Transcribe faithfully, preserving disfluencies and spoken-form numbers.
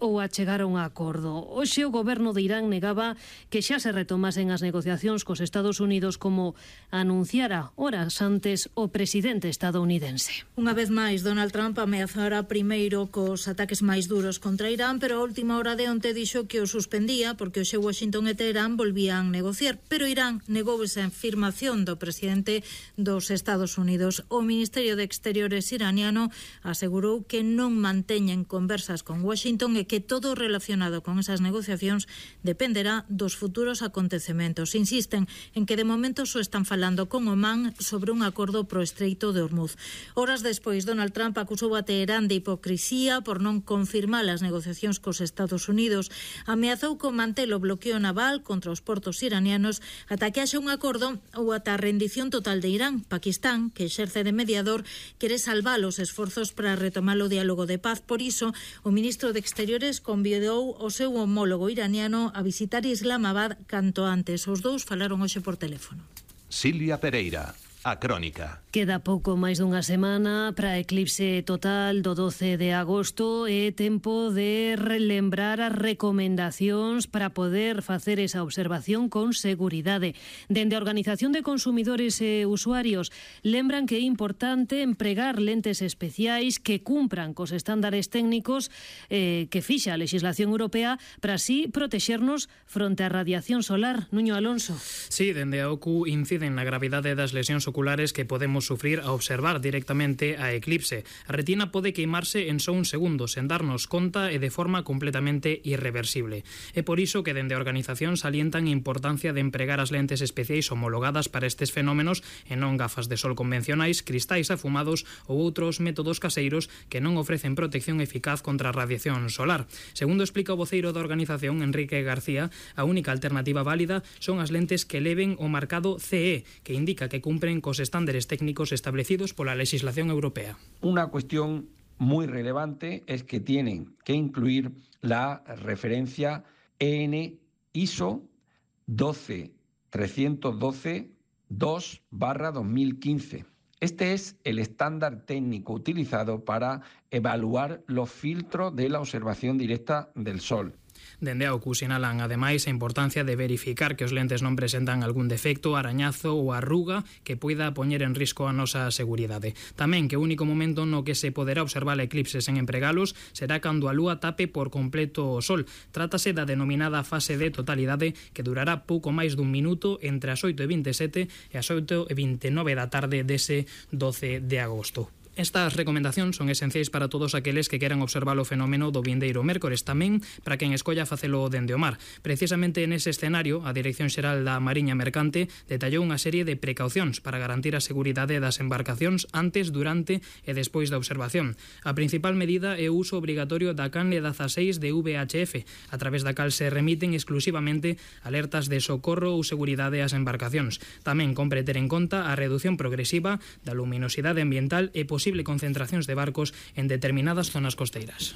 ou a chegar a un acordo. Hoxe o goberno de Irán negaba que xa se retomasen as negociacións cos Estados Unidos como anunciara horas antes o presidente estadounidense. Unha vez máis, Donald Trump ameazara primeiro cos ataques máis duros contra Irán, pero a última hora de onte dixo que o suspendía porque hoxe Washington e Teherán volvían negociar, pero Irán negou esa afirmación do presidente dos Estados Unidos. O Ministerio de Exteriores iraniano asegurou que non manteñen conversas con Washington e que todo relacionado con esas negociacións dependerá dos futuros acontecementos. Insisten en que de momento só están falando con Omán sobre un acordo pro Estreito de Hormuz. Horas despois, Donald Trump acusou a Teherán de hipocrisía por non confirmar as negociacións cos Estados Unidos. Ameazou con manter o bloqueo naval contra os portos iranianos ata que haxa un acordo ou ata a rendición total de Irán. Pakistán, que exerce de mediador, quere salvar os esforzos para retomar o diálogo de paz. Por iso, o ministro de Exteriores convidou o seu homólogo iraniano a visitar Islamabad canto antes. Os dous falaron hoxe por teléfono. Silvia Pereira, A Crónica. Queda pouco máis dunha semana para a eclipse total do doce de agosto e tempo de relembrar as recomendacións para poder facer esa observación con seguridade. Dende a Organización de Consumidores e Usuarios lembran que é importante empregar lentes especiais que cumpran cos estándares técnicos eh, que fixa a legislación europea para así protexernos fronte á radiación solar. Nuño Alonso. Sí, dende a O C U inciden na gravidade das lesións oculares que podemos sufrir a observar directamente a eclipse. A retina pode queimarse en só un segundo, sen darnos conta e de forma completamente irreversible. É por iso que dende a organización salientan a importancia de empregar as lentes especiais homologadas para estes fenómenos e non gafas de sol convencionais, cristais afumados ou outros métodos caseiros que non ofrecen protección eficaz contra a radiación solar. Segundo explica o voceiro da organización, Enrique García, a única alternativa válida son as lentes que leven o marcado C E, que indica que cumpren cos estándares técnicos establecidos pola legislación europea. Una cuestión muy relevante es que tienen que incluir la referencia E N I S O doce trescientos doce dos barra dos mil quince. Este es el estándar técnico utilizado para evaluar los filtros de la observación directa del Sol. Dende a O C U sinalan ademais a importancia de verificar que os lentes non presentan algún defecto, arañazo ou arruga que poida poñer en risco a nosa seguridade. Tamén que o único momento no que se poderá observar a eclipse sen empregalos será cando a lúa tape por completo o sol. Trátase da denominada fase de totalidade que durará pouco máis dun minuto entre as oito e vinte e sete e as oito e vinte e nove da tarde dese doce de agosto. Estas recomendacións son esenciais para todos aqueles que queran observar o fenómeno do vindeiro mércores, tamén para quen escolla facelo dende o mar. Precisamente nese escenario, a Dirección Xeral da Mariña Mercante detallou unha serie de precaucións para garantir a seguridade das embarcacións antes, durante e despois da observación. A principal medida é o uso obrigatorio da canle dezaseis de V H F, a través da cal se remiten exclusivamente alertas de socorro ou seguridade ás embarcacións. Tamén compre ter en conta a redución progresiva da luminosidade ambiental e posible concentracións de barcos en determinadas zonas costeiras.